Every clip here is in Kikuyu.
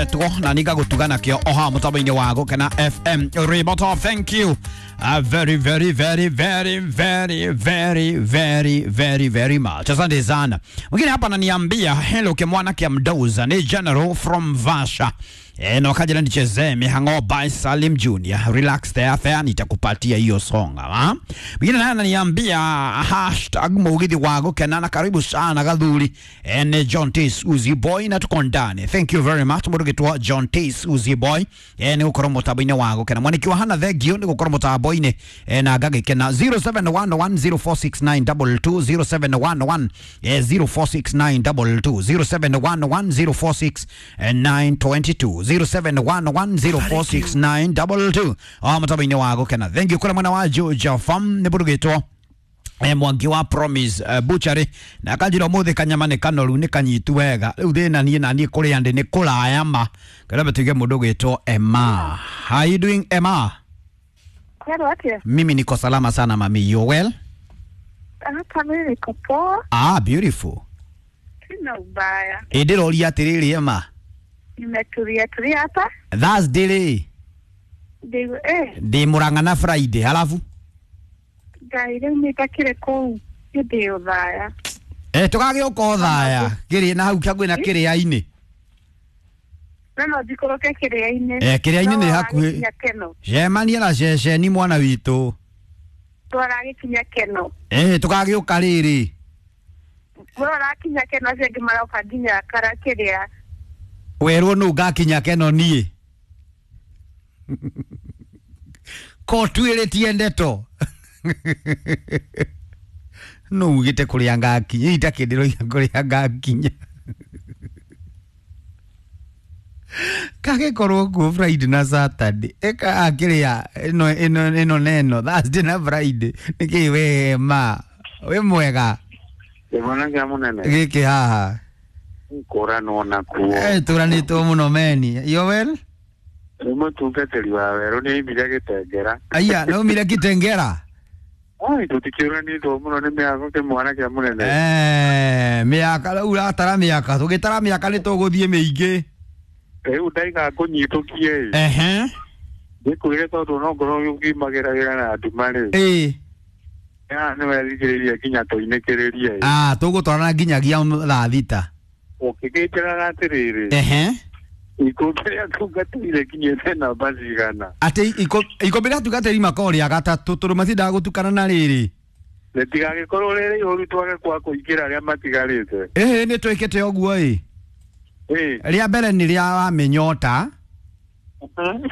Tuo na nigagutuga nakio oha mutambo-inĩ wa Gũkena FM Ribota. Thank you very very very very very very very very very much, asante sana. Mwingine hapa ananiambia hello kimwana kia mdoza ni General from Vasha. No kajira nichezee mihango by Salim Junior. Relax there there, nitakupatia hiyo song. Ha? Mwingine naye ananiambia hashtag mugithi wa Gũkena na karibu sana gathuri. Ni John T Suzy Boy na tuko ndani. Thank you very much mũrugitwo John T Suzy Boy. Ni gukorwo mutambo-inĩ wa Gũkena. Mwaniki wa hana thengio ni gukorwo mutambo-inĩ na ngagĩkena. 0711046922 0711 046922 0711046922 0711046922 mutambo-inĩ wa Gũkena. Thank you kũrĩ mwena wa Georgia Farm nĩ mũrugĩtwo Mwangi wa Promise Butchery na kanjira umuthi kanyama nĩ kanoru nĩ kanyitu wega rĩu thĩna niĩ na niĩ kũrĩa ndĩ nĩ kũraya ma kĩrĩa tuige mũndũ gwĩtwo Emma. How you doing, Emma? Hello, atia. Mimi niko salama sana mami, you well? Hapa mimi niko poa, Ah, beautiful. sina ubaya, Ĩ ndĩroria atĩrĩrĩ Emma, nimetulia tulia hapa Thursday rĩ ndio ndĩ Murang'a na Friday halafu Ngai rĩu nĩndakĩrĩ kũu hĩndĩ ĩyo thaya. Tũgagĩũka o thaya kĩrĩ na hau kĩangwĩ na kĩrĩa-inĩ. No no njikũrũke kĩrĩa-inĩ. Kĩrĩa-inĩ nĩ No hakuhĩ. waragĩkinya Keno, Cemania na ceceni mwana witũ. twaragĩkinya Keno, Tũgagĩũka rĩrĩ. we ũrakinya Keno, acio angĩ maroka nginya kara kĩrĩa. Werwo nũ ngakinya Keno niĩ ko twĩrĩtie ndeto nũ ugĩte kũrĩa ngakinya itakĩndĩroiga kũrĩa ngakinya kagĩkorwo kuo Friday na Saturday ĩka akĩrĩa ĩno ĩno ĩno na ĩno Thursday na Friday nĩkĩ we ma wĩ mwega? Kĩmwana kĩa mũnene. Gĩkĩ haha. Kũranwo nakuo. Tũranĩtwo mũno meni, you well? Nĩ mũtungatĩri wa werũ nĩ aimire gĩtengera. Aya, naumire Kitengera. Ai, tũtikĩũranĩtwo mũno nĩ mĩako kĩmwana kĩa mũnene. Mĩaka rĩu ũratara mĩaka, tũgĩtara mĩaka nĩ tũgũthiĩ mĩingĩ. Rĩu ndaiga ngũnyitũkie ĩ. Ehe. Ngĩkwĩre tondũ no ngorwo ũkiumagĩra wĩra na nduma rĩ. Ĩ. Haha nĩ wethikĩrĩria nginya tũinĩkĩrĩrie ĩ. Ah, tũgũtwarana nginyagia thaa thita. Ũkĩgĩnjĩraga atĩrĩrĩ. Ehe. Ikũmbĩ rĩa tungatĩire nginyĩte namba cigana? Atĩ ikũmbĩ rĩa tungatĩri makoragwo rĩa gatatũ tondũ matindaga gũtukana na rĩrĩ. Rĩtigagĩkorwo rĩrĩ ihũru twage kwa kũingĩra arĩa matigarĩte. Ĩhĩ nĩ twĩkĩte ũguo ĩ. Ĩ. Rĩa mbere nĩ rĩa wa mĩnyota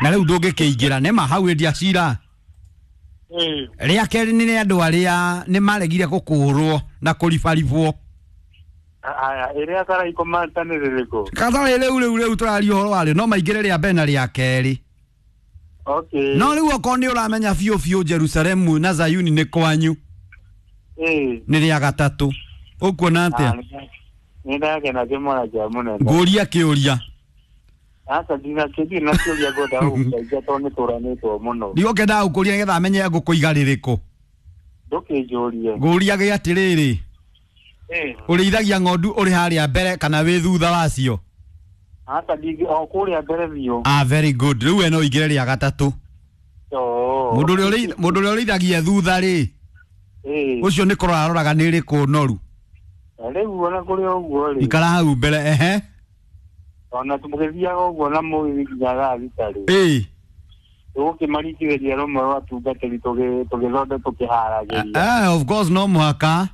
na rĩu ndũngĩkĩingĩra nĩma hau endia cira. Ĩ. Rĩa kerĩ nĩ rĩa andũ arĩa nĩ maregire gũkũrwo na kũribaribwo. Aya, ĩrĩa karaikũmata nĩ rĩrĩkũ? Katarĩ rĩu rĩu rĩu tũraria ũhoro warĩo no maingĩre rĩa mbere na rĩa kerĩ. Okay. No rĩu okorwo nĩ ũramenya biũ biũ Jerusalemu na Zayuni nĩ kwanyu Ĩ. nĩ rĩa gatatũ. Ũkuona atĩa? Nĩ ndakena kĩmwana kĩa mũnene. Ngũria kĩũria. Aca ndinakĩthiĩ na kĩũria ngwenda gũgũteithia tondũ nĩ tũranĩtwo mũno. Ndigũkĩendaga gũkũria nĩgetha menye ngũkũiga rĩrĩkũ. Ndũkĩnjũrie. Ngũria gĩ atĩrĩrĩ, Ĩ. ũrĩithagia ng'ondu ũrĩ harĩa mbere kana wĩ thutha wacio? Aca ndingĩ o kũrĩa mbere biũ. Ah, very good. Rĩu we no ũingĩre rĩa gatatũ. Oo. Mũndũ ũrĩa ũrĩithagia thutha rĩ, Ĩ. ũcio nĩ kũrora aroraga nĩ ĩrĩkũ noru. Rĩu ona kũrĩ ũguo rĩ. Ikara hau mbere, ehe. Ona tũgĩthiaga ũguo na mũgithi nginya thaa thita rĩ. Ĩ. Tũgũkĩmaringithĩria rũmwe rwa tungatĩri tũgĩthonde tũkĩharagĩria. Of course no mũhaka.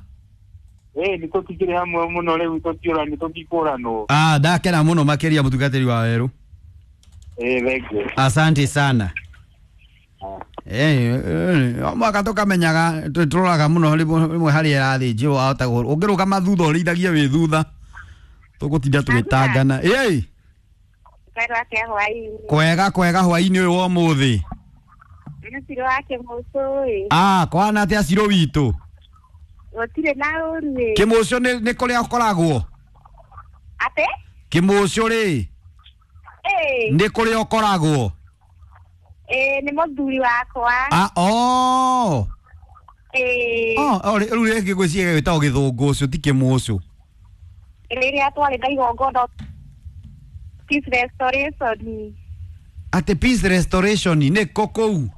Ĩ nĩ tũtikĩrĩ hamwe mũno rĩu tũtiũrani tũtikũranwo. Ah, ndakena mũno makĩria mũtungatĩri wa werũ. Ĩ thengiũ. Asante sana. O mwaka tũkamenyaga tũroraga mũno rĩmwe harĩa ĩrathĩnjĩrwo wahota ũngĩrũgama thutha ũrĩithagie wĩ thutha tũgũtinda tũgĩtangana. Ĩ. Kwero atĩa hwaĩ-inĩ? Kwega kwega hwaĩ-inĩ ũyũ wa ũmũthĩ. Nĩ Ciro wa Kĩmũcũ ĩ. Ah, kwana atĩa Ciro witũ? Gũtirĩ na ũru ĩ. Kĩmũcũ nĩ kũrĩa ũkoragwo? Atĩ? Kĩmũcũ rĩ Ĩ. nĩ kũrĩa ũkoragwo? Ĩ nĩ mũthuri wakwa. Ah, oh. Ĩ. Oh, rĩu rĩngĩ ngwĩciria gĩtagwo gĩthũngũ ũcio ti kĩmũcũ. Rĩrĩa twarĩ na igongona Peace Restoration. Atĩ Peace Restoration nĩ kũ kũu?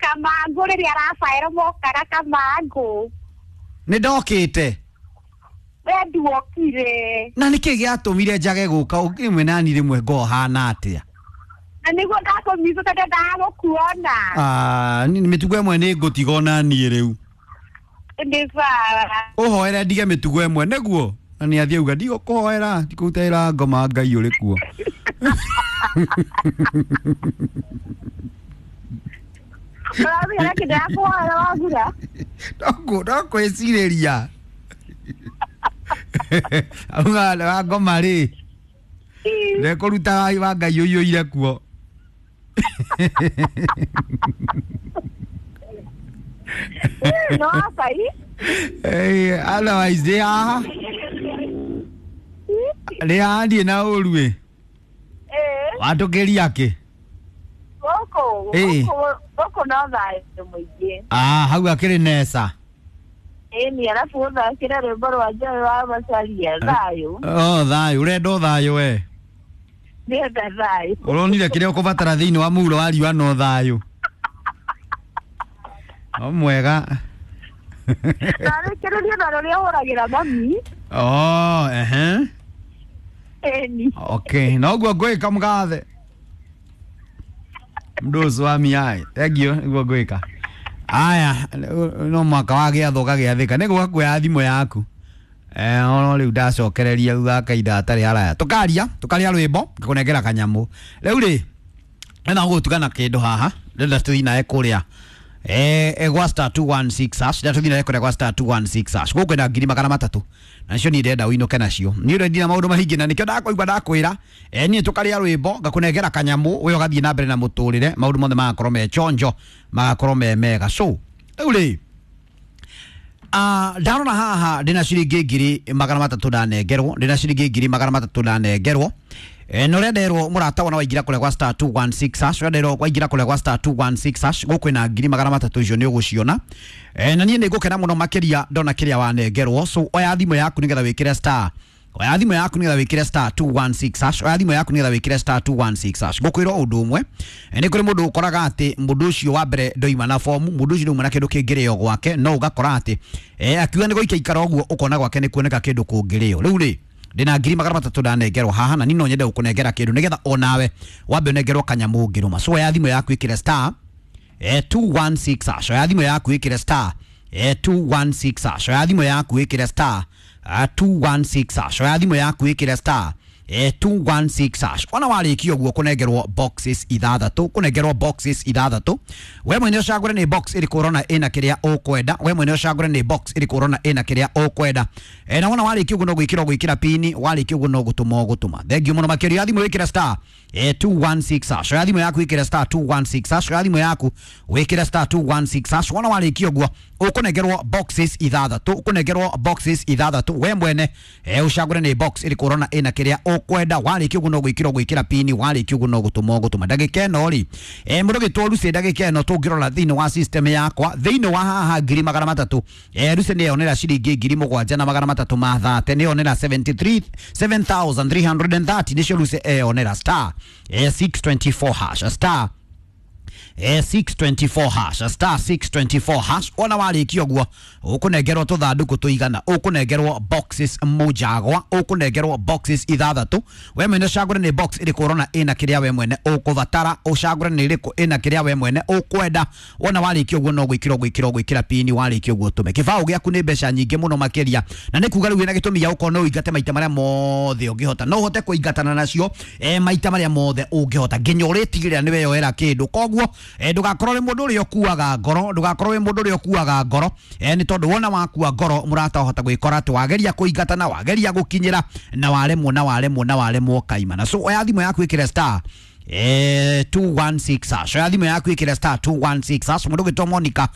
Kamangũ rĩrĩa Rafael mokaga Kamangũ. Nĩ ndokĩte. We nduokire. Na nĩkĩ gĩatũmire njage gũka ũkĩmwe nani rĩmwe ngohana atĩa? Na nĩguo ndakũmicũ tondũ ndagũkuona. Ah, mĩtugo ĩmwe nĩ ngũtiga ona niĩ rĩu. Nĩ sawa. Ũhoere ndige mĩtugo ĩmwe nĩguo? Na nĩ athiĩ auga ndigũkũhoera, ndikũrutĩra ngoma Ngai ũrĩ kuo. Ũramenya kĩndũ ya kũhoera wagura? No kwĩcirĩria. Auga wa ngoma rĩ, ndekũruta wa Ngai ũiyũire kuo. No Ngai. Otherwise ndĩ haha. Ndĩ haha ndirĩ na ũru ĩ. Watũkĩria kĩ? Gũkũ gũkũ no thayũ mũingĩ. Ah, hau akĩrĩ neca. Ĩni arabu ũthakĩre rwĩmbo rwa Joy wa Macharia thayũ. Oh, thayũ, ũrenda o thayũ we. Ndĩrenda thayũ. Ũronire kĩrĩa ũkũbatara thĩinĩ wa mũhuro wa riũa no thayũ. O mwega. Narĩkĩrĩria na rũrĩa ũhũragĩra mami. Oh, ehe. Ĩni. Okay, noguo ngwĩka mũgathe. Mũndũ ũcio wa miai. Thank you, nĩguo ngwĩka. Aya, no mwaka wa gĩathwo gagĩathĩka. Nĩ gũka kuoya thimũ yaku. Ono rĩu ndacokereria thutha wa kahinda hatarĩ haraya. Tũkaria, tũkaria rwĩmbo, ngakũnengera kanyamũ. Rĩu rĩ, ndĩrenda gũgũtugana kĩndũ haha, ndĩrenda tũthiĩ nawe kũrĩa. Gwa star 216 hash, ndĩrenda tũthiĩ nawe kũrĩa gwa star 216 hash. Gũkũ kwĩna 300,000. Na nicio niĩ ndĩrenda ũinũke nacio. Niĩ ũrĩa ndina maũndũ maingĩ na nĩkĩo ndakũigua ndakwĩra. Niĩ tũkarĩa rwĩmbo, ngakũnengera kanyamũ, we ũgathiĩ na mbere na mũtũrĩre, maũndũ mothe magakorwo me chonjo, magakorwo me mega. So, rĩu rĩ, ndarora haha ndĩna ciringi 300,000 ndanengerwo, ndĩna ciringi 300,000 ndanengerwo. Na ũrĩa nderwo mũrata wona waingĩra kũrĩa gwa star 216 hash, ũrĩa nderwo waingĩra kũrĩa gwa star 216 hash, gũkũ kwĩna 300,000 icio nĩ ũgũciona. Na niĩ nĩ ngũkena mũno makĩria ndona kĩrĩa wanengerwo. So oya thimũ yaku nĩgetha wĩkĩre star, oya thimũ yaku nĩgetha wĩkĩre star 216 hash, oya thimũ yaku nĩgetha wĩkĩre star 216 hash. Ngũkwĩra ũndũ ũmwe, nĩ kũrĩ mũndũ ũkoraga atĩ mũndũ ũcio wa mbere ndoima na fomu, mũndũ ũcio ndoima na kĩndũ kĩngĩrĩo gwake, no ũgakora atĩ akiuga nĩ gũikia ikara ũguo ũkona gwake nĩ kuoneka kĩndũ kũngĩrĩo. Rĩu rĩ, ndĩna 300,000 ndanengerwo haha na niĩ no nyende gũkũnengera kĩndũ nĩgetha onawe wambe ũnengerwo kanyamũ ũngĩrũma. So oya thimũ yaku ĩkĩre star 216 hash, oya thimũ yaku ĩkĩre star 216 hash, oya thimũ yaku ĩkĩre star 216 hash, oya thimũ yaku ĩkĩre star 216 hash. Ona warĩkia ũguo kũnengerwo boxes ithathatũ, kũnengerwo boxes ithathatũ. We mwene ũcagũre nĩ box ĩrĩkũ ũrona ĩna kĩrĩa ũkwenda, we mwene ũcagũre nĩ box ĩrĩkũ ũrona ĩna kĩrĩa ũkwenda. Na wona warĩkia ũguo no gwĩkĩra ũgwĩkĩra pini, warĩkia ũguo no gũtũma ũgũtũma. Thank you mũno makĩria. Thimũ wĩkĩre star 216 hash, oya thimũ yaku wĩkĩre star 216 hash, oya thimũ yaku wĩkĩre star 216 hash. Wona warĩkia ũguo ũkũnengerwo boxes ithathatũ, ũkũnengerwo boxes ithathatũ. We mwene ũcagũre nĩ box ĩrĩkũ ũrona ĩna kĩrĩa ũkwenda. Warĩkia ũguo no gwĩkĩra ũgwĩkĩra pini, warĩkia ũguo no gũtũma ũgũtũma. Ndagĩka ĩno rĩ, mũndũ gĩtwo Lucy, ndagĩka ĩno tũngĩrora thĩinĩ wa system yakwa, thĩinĩ wa haha 300,000, Lucy nĩeyonera ciringi 7,330, nĩeyonera 73 7330 nĩcio Lucy eyonera star 624 hash, star 624 hash, star 624 hash. Ona warĩkia ũguo ũkũnengerwo tũthandũkũ tũigana, ũkũnengerwo boxes mũjagwa, ũkũnengerwo boxes ithathatũ. We mwene ũcagũre nĩ box ĩrĩkũ ũrona ĩna kĩrĩa we mwene ũkũbatara, ũcagũre nĩ ĩrĩkũ ĩna kĩrĩa we mwene ũkwenda. Wona warĩkia ũguo no gwĩkĩra ũgwĩkĩra ũgwĩkĩra pini, warĩkia ũguo ũtũme kĩbaũ gĩaku nĩ mbeca nyingĩ mũno makĩria, na nĩ kuga rĩu wĩna gĩtũmi gĩa gũkorwo no ũingate maita marĩa mothe ũngĩhota, no ũhote kũingatana nacio maita marĩa mothe ũngĩhota nginya ũrĩtigĩrĩra nĩ weyoera kĩndũ. Koguo ndũgakorwo wĩ mũndũ ũrĩa ũkuaga ngoro, ndũgakorwo wĩ mũndũ ũrĩa ũkuaga ngoro, nĩ tondũ wona wakua ngoro mũrata wahota gwĩkora atĩ wageria kũingatana, wageria gũkinyĩra na waremwo na waremwo na waremwo kaimana. So oya thimũ yaku ĩkĩre star 216 hash. Oya thimũ yaku ĩkĩre star 216 hash. Mũndũ ũgwĩtwo Monica,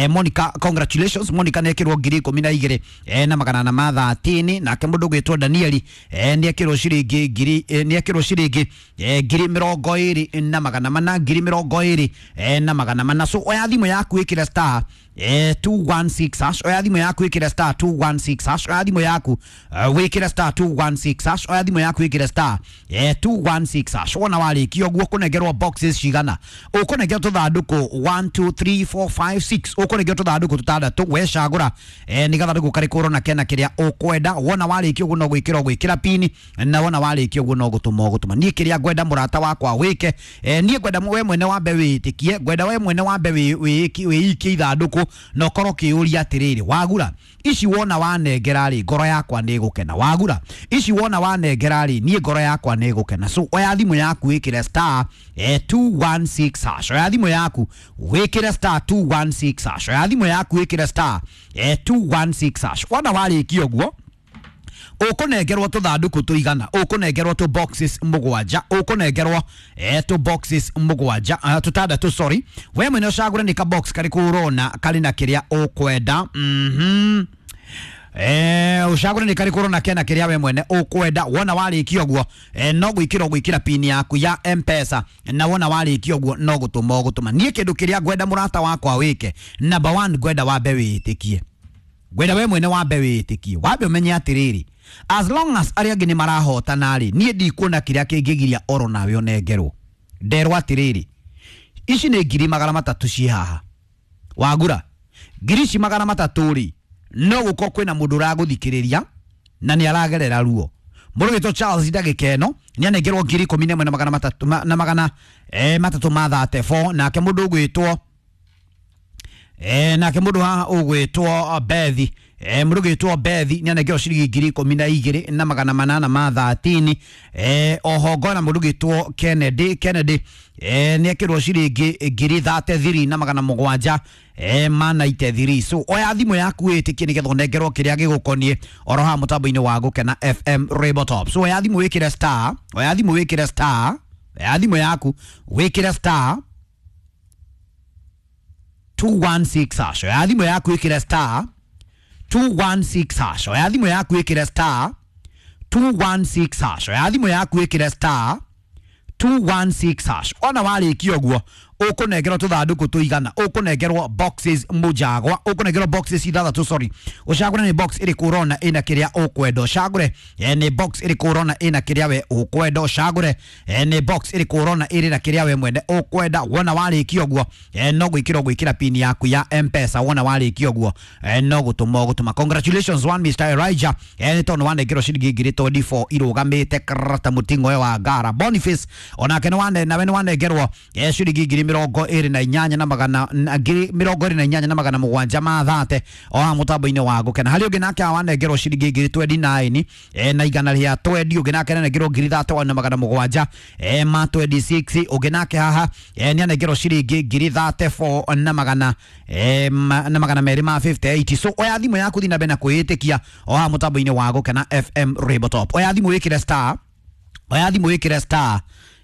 Monica congratulations. Monica nĩ ekĩrwo 12,000 na magana na ma 30. Nake mũndũ ũgwĩtwo Danieli nĩ ekĩrwo ciringi ngiri nĩ ekĩrwo ciringi 24,400, 24,400. So oya thimũ yaku ĩkĩre star 216 hash. Oya thimũ yaku ĩkĩre star 216 hash. Oya thimũ yaku wĩkĩre star 216 hash. Oya thimũ yaku ĩkĩre star 216 hash. Wona warĩkia ũguo kũnengerwo boxes cigana? Ũkũnengerwo tũthandũkũ 1 2 3 4 5 6, ũkũnengerwo tũthandũkũ tũtandatũ. Wecagũra nĩ gathandũkũ karĩkũ ũrona kena kĩrĩa ũkwenda. Wona warĩkia ũguo no gwĩkĩra ũgwĩkĩra pini, na wona warĩkia ũguo no gũtũma ũgũtũma. Niĩ kĩrĩa ngwenda mũrata wakwa wĩke, niĩ ngwenda we mwene wambe wĩĩtĩkie, ngwenda we mwene wambe wĩikie ithandũkũ na ũkorwo ũkĩũria atĩrĩrĩ, wagura ici wona wanengera rĩ, ngoro yakwa nĩ ĩgũkena. Wagura ici wona wanengera rĩ, niĩ ngoro yakwa nĩ ĩgũkena. So oya thimũ yaku wĩkĩre star 216 hash. Oya thimũ yaku wĩkĩre star 216 hash. Oya thimũ yaku wĩkĩre star 216 hash. Wona warĩkia ũguo ũkũnengerwo tũthandũkũ tũigana? Ũkũnengerwo tũ boxes mũgwanja, ũkũnengerwo tũ boxes mũgwanja, tũtandatũ sorry. We mwene ũcagũre nĩ ka box karĩkũ ũrona karĩ na kĩrĩa ũkwenda. Ũcagũre nĩ karĩkũ ũrona kena kĩrĩa we mwene ũkwenda. Wona warĩkia ũguo no gwĩkĩra ũgwĩkĩra pini yaku ya M-Pesa, na wona warĩkia ũguo no gũtũma ũgũtũma. Niĩ kĩndũ kĩrĩa ngwenda mũrata wakwa wĩke, number 1, ngwenda wambe wĩĩtĩkie, ngwenda we mwene wambe wĩĩtĩkie, wambe ũmenye atĩrĩrĩ, as long as arĩa angĩ nĩ marahotana rĩ, niĩ ndikuona kĩrĩa kĩngĩgiria oro nawe ũnengerwo. Nderwo atĩrĩrĩ, ici nĩ 300,000 ciĩ haha, wagura ngiri ici 300 rĩ, no gũkorwo kwĩna mũndũ ũragũthikĩrĩria na nĩ aragerera ruo. Mũndũ wĩtwo Charles ndagĩka ĩno nĩ anengerwo 11,300 na magana 334. Nake mũndũ ũgwĩtwo nake mũndũ haha ũgwĩtwo Bethi, mũndũ ũgwĩtwo Bethi nĩ anengerwo ciringi 12,813. Oho ngona mũndũ ũgwĩtwo Kennedy, Kennedy nĩ ekĩrwo ciringi 33,700 na magana 93. So oya thimũ yaku wĩtĩkie nĩgetha ũnengerwo kĩrĩa gĩgũkoniĩ oro haha mũtambo-inĩ wa Gũkena FM Rainbow Top. So oya thimũ wĩkĩre star, oya thimũ wĩkĩre star, oya thimũ yaku wĩkĩre star 216 hash. Oya thimũ yaku ĩkĩre star 216 hash. Oya thimũ yaku ĩkĩre star 216 hash. Oya thimũ yaku ĩkĩre star 216 hash. Ona warĩkia ũguo ũkũnengerwo tũthandũkũ tũigana? Ũkũnengerwo boxes mũjagwa, ũkũnengerwo boxes ithathatũ sorry. Ũcagũre nĩ box ĩrĩkũ ũrona ĩna kĩrĩa ũkwenda. Ũcagũre nĩ box ĩrĩkũ ũrona ĩna kĩrĩa we ũkwenda. Ũcagũre nĩ box ĩrĩkũ ũrona ĩrĩ na kĩrĩa we mwene ũkwenda. Wona warĩkia ũguo no gwĩkĩra ũgwĩkĩra pin yaku ya M-Pesa. Wona warĩkia ũguo no gũtũma ũgũtũma. Congratulations one Mr Elijah, nĩ tondũ wanengerwo ciringi 24,000 irũgamĩte karata mũting'oe wa ngara. Boniface onake nĩ wane nawe nĩ wanengerwo ciringi 28,700 na magana 27,730 o haha mũtambo-inĩ wa Gũkena. Harĩ ũngĩ nake wanengerwo ciringi 29,000 na igana rĩa 20. Ũngĩ nake anengerwo 31,700 ma 26. Ũngĩ nake haha nĩ anengerwo ciringi 34,258 na magana 258. So oya thimũ yaku thiĩ na mbere na kwĩĩtĩkia o haha mũtambo-inĩ wa Gũkena FM Rainbow Top. Oya thimũ wĩkĩre star, oya thimũ wĩkĩre star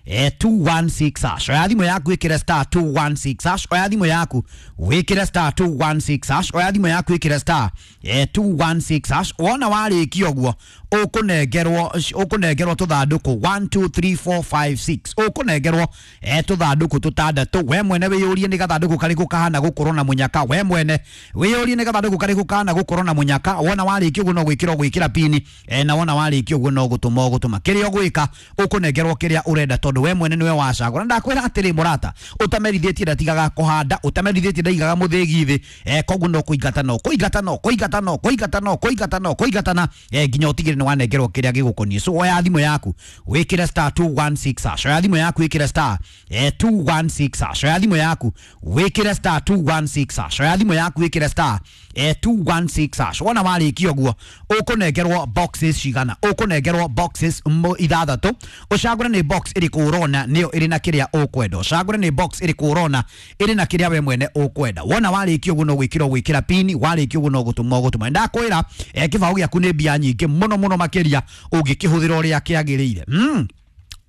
216 hash. Oya thimũ yaku ĩkĩre star 216 hash. Oya thimũ yaku wĩkĩre star 216 hash. Oya thimũ yaku ĩkĩre star 216 hash. Wona warĩkia ũguo ũkũnengerwo tũthandũkũ 1 2 3 4 5 6, ũkũnengerwo tũthandũkũ tũtandatũ. We mwene wĩyũrie nĩ gathandũkũ karĩkũ kahana gũkorwo na mũnyaka. We mwene wĩyũrie nĩ gathandũkũ karĩkũ kahana gũkorwo na mũnyaka. Wona warĩkia ũguo no gwĩkĩra ũgwĩkĩra pini, na wona warĩkia ũguo no gũtũma ũgũtũma. Kĩrĩa ũgwĩka ũkũnengerwo kĩrĩa ũrenda tondũ we mwene niwe wacagũra. Ndakwĩra atĩrĩ mũrata, ũtamerithĩtie ndatigaga kũhanda, ũtamerithĩtie ndaigaga mũthĩgi thĩ, koguo no kũingata no kũingata no kũingata no kũingata no kũingata no kũingatana nginya ũtigĩre nĩ wanengerwo kĩrĩa gĩgũkoniĩ. So oya thimũ yaku wĩkĩre star 216 hash. Oya thimũ yaku wĩkĩre star 216 hash. Oya thimũ yaku wĩkĩre star 216 hash. Oya thimũ yaku wĩkĩre star 216 hash. Wona warĩkia ũguo ũkũnengerwo boxes cigana? Ũkũnengerwo boxes ithathatũ. Ũcagũre nĩ box ĩrĩkũ ũrona nĩyo ĩrĩ na kĩrĩa ũkwenda. Ũcagũre nĩ box ĩrĩkũ ũrona ĩrĩ na kĩrĩa we mwene ũkwenda. Wona warĩkia ũguo no gwĩkĩra ũgwĩkĩra pini, warĩkia ũguo no gũtũma ũgũtũma. Ndakwĩra kĩbaũ gĩaku nĩ mbia nyingĩ mũno mũno makĩria ũngĩkĩhũthĩra ũrĩa kĩagĩrĩire.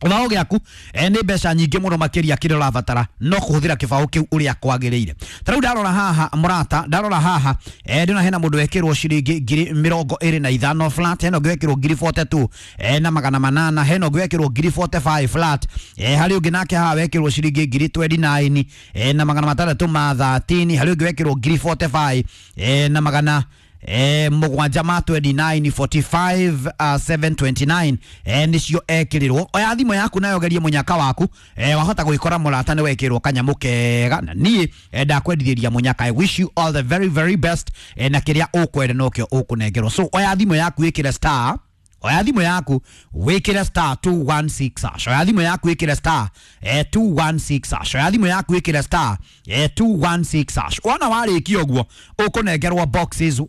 Gĩbaũ gĩaku nĩ mbeca nyingĩ mũno makĩria kĩrĩa ũrabatara no kũhũthĩra kĩbaũ kĩu ũrĩa kwagĩrĩire. Ta rĩu ndarora haha mũrata, ndarora haha ndĩrona hena mũndũ wekĩrwo ciringi 25,000 flat, hena ũngĩ wekĩrwo 42,800 na 800, hena ũngĩ wekĩrwo 45,000 flat, harĩ ũngĩ nake haha wekĩrwo ciringi 29,613 na 13, harĩ ũngĩ wekĩrwo 45,000 na 700 ma 29 45 729 nicio ekĩrĩrwo. Oya thimũ yaku nayo gerie mũnyaka waku, wahota gwĩkora mũrata nĩ wekĩrwo kanyamũ kega na niĩ ndakwendithĩria mũnyaka. I wish you all the very very best, na kĩrĩa ũkwenda nokĩo ũkũnengerwo. So oya thimũ yaku ĩkĩre star, oya thimũ yaku wĩkĩre star 216 hash, oya thimũ yaku wĩkĩre star 216 hash, oya thimũ yaku wĩkĩre star 216 hash. Wona warĩkia ũguo ũkũnengerwo boxes.